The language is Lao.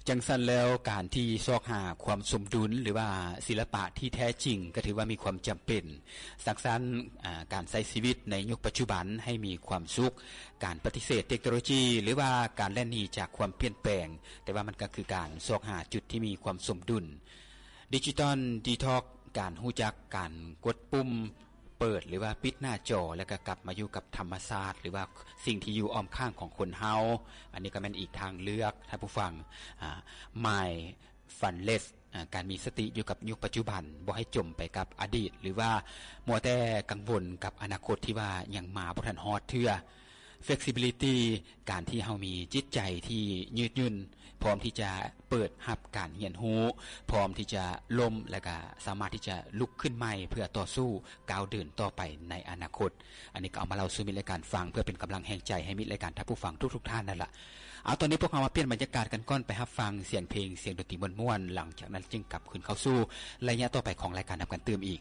ຈັ່ງຊັ້ນແລ້ວ ການທີ່ຊອກຫາຄວາມສົມດຸນ ຫຼືວ່າສິລະປະທີ່ແທ້ຈິງ ກໍຖືວ່າມີຄວາມຈຳເປັນ. ສັງສັນ ອາ ການໃຊ້ຊີວິດໃນຍຸກປັດຈຸບັນໃຫ້ມີຄວາມສຸກ, ການປະຕິເສດເຕັກໂນໂລຈີ ຫຼືວ່າການແລ່ນໜີຈາກຄວາມປ່ຽນແປງ, ແຕ່ວ່າມັນກໍຄືການຊອກຫາຈຸດທີ່ມີຄວາມສົມດຸນ. ດິຈິຕອນດີທັອກ ການຮູ້ຈັກການກົດປຸ່ມ ເປີດ ຫຼືວ່າປິດໜ້າຈໍ ແລ້ວກໍກັບມາຢູ່ກັບທຳມະຊາດ ຫຼືວ່າສິ່ງທີ່ຢູ່ອ້ອມຂ້າງຂອງຄົນເຮົາ. ອັນນີ້ກໍແມ່ນອີກທາງເລືອກ ທ່ານຜູ້ຟັງ ອາ mindfulness ອາ ການມີສະຕິຢູ່ກັບຍຸກປັດຈຸບັນ, ບໍ່ໃຫ້ຈົມໄປກັບອະດີດ ຫຼືວ່າມົວແຕ່ກັງວົນກັບອະນາຄົດທີ່ວ່າຍັງມາບໍ່ທັນຮອດເທື່ອ. flexibility ການທີ່ເຮົາມີຈິດໃຈທີ່ຍືດຫຍຸ່ນ, ພ້ອມທີ່ຈະເປີດຮັບການຮຽນຮູ້, ພ້ອມທີ່ຈະລົ້ມ ແລະກະສາມາດທີ່ຈະລຸກຂຶ້ນໃໝ່ເພື່ອຕໍ່ສູ້ກ້າວເດີນຕໍ່ໄປໃນອະນາຄົດ. ອັນນີ້ກໍເອົາມາເລົ່າສູ່ມິດລາຍການຟັງ ເພື່ອເປັນກຳລັງແຮງໃຈໃຫ້ມິດລາຍການທ່ານຜູ້ຟັງທຸກໆທ່ານນັ້ນລະ. ເອົາ ຕອນນີ້ພວກເຮົາມາປ່ຽນບັນຍາກາດກັນກ່ອນ, ໄປຮັບຟັງສຽງເພງ, ສຽງດົນຕີມ່ວນໆ, ຫຼັງຈາກນັ້ນຈຶ່ງກັບຄືນເຂົ້າສູ່ໄລຍະຕໍ່ໄປຂອງລາຍການນຳກັນຕື່ມອີກ.